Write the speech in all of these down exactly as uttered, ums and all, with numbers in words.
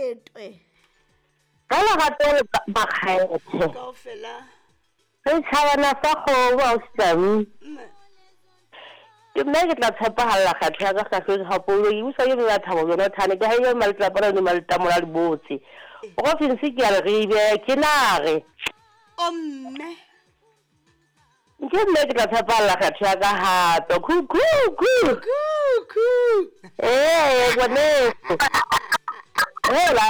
Masetwe. Ka lerato le makgethe. Kaofela. Re tšhabana sa kgomo ausi. Mme. Ke nna ke tla tshepagalla kgetho ya ka kgahlong gapolo ke busa ke bea thabo Jonathane ke haile maletlapana le maletamola le botse. Province ke ya Leribe ke nare. O mme. Ke nna ke tla tshepagalla kgetho ya ka hape. Khu khu khu. Kuku. Ee, ngwaneso. Hela.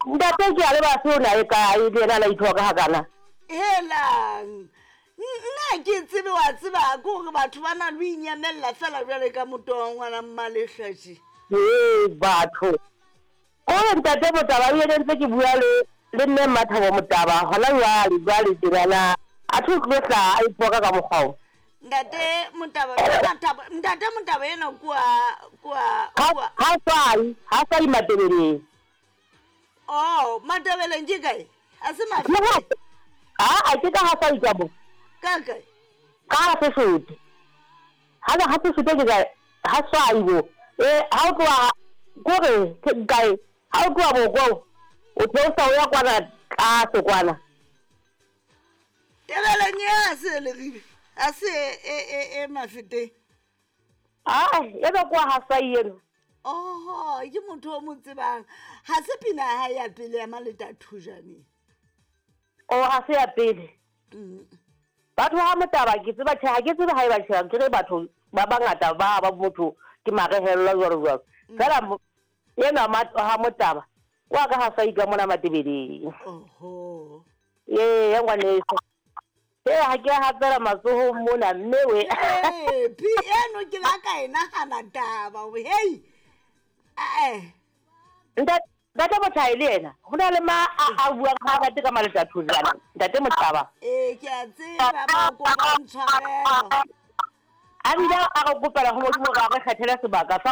Ntate ke a le ba se o na e kae le yena a la ithoka hakana. Helang. Nna ke tsebe wa tseba ke gore batho ba na le ho inyamella fela jwale ka moto wa ngwana mmalehlatši. Ee, batho. Kore ntate Motaba o ene ntse ke bua le le mme Mmathabo Motaba hona jwale jwale tjenana. A tho tlo hlaha a iphoka ka mokgwa o. Ntate Motaba, Mathabo, ntate Motaba ena kua kua Ha kua. ha sai, ha sai Matebeleng. Oh, Matebeleng ke kae? A se Le Mafeteng. ha a ke ka ha sai ka mo. Ka kae? Ka ha Sesotho. Ha ha Sesotho ke kae? Ha swai bo. Eh, ha o tloha kore ke kae? Ha o tloha Bokong, o theosa o ya kwana tlase kwana. Tebeleng e a se Leribe. A se e e e Mafeteng. Ah, ena kwa ha sai eno. Oho, ke motho o mo tsebang. Ha se pina ya hae ya pele ya Maleta Thojane. O ha se ya pele. Mm. Batho ha Motaba ke tseba tjhe, ha ke tsebe ha e ba tjhe, ke re batho ba bangata ba ba motho ke marehellwa jwalo jwalo. Fela mo- ena ma ha Motaba wa ka ha sai ka mona Matebeleng. Oho. Ee, ya ngwaneso. Ee, ha ke a hapela matsohong mona mme we. Eh, pi eno ke la ka e nahana taba hore hey. Eh. Ntate Ntate Mothae le yena ho na le ma a a buang ha a rate ka Maleta Thojane. Ntate Motaba. Eh, ke a tseba ba kopa ntshwarelo. A bile a re kopela ho Modimo hore a re kgethele sebaka sa